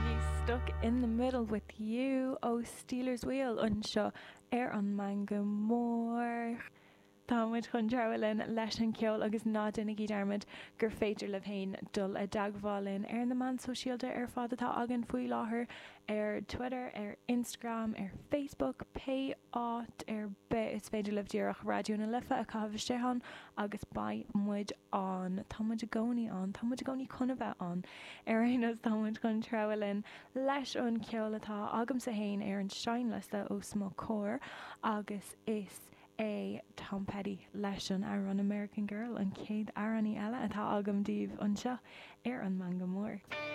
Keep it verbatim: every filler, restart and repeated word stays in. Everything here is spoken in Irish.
Éisteigí Stuck in the Middle with You ó Stealers Wheel anseo ar an Meangadh Mór. Tá muid chun treabhadh linn leis an ceol agus ná déanaigí dearmad gur féidir libh féin dul i dteagmháil linn ar na meáin sóisialta ar fad atá againn faoi láthair ar Twitter, ar Instagram, ar Facebook, pé áit ar bith is féidir libh díreach Raidió na Life a chaitheamh isteach ann agus beidh muid ann. Tá muid i gcónaí ann, tá muid i gcónaí chun a bheith ann. Ar aon nós tá muid chun treabhadh linn leis an ceol atá agamsa féin ar an seinnliosta os mo chomhair agus is é Tom Petty leis an amhrán American Girl an chéad amhránaí eile atá agam daoibh anseo ar an Meangadh Mór.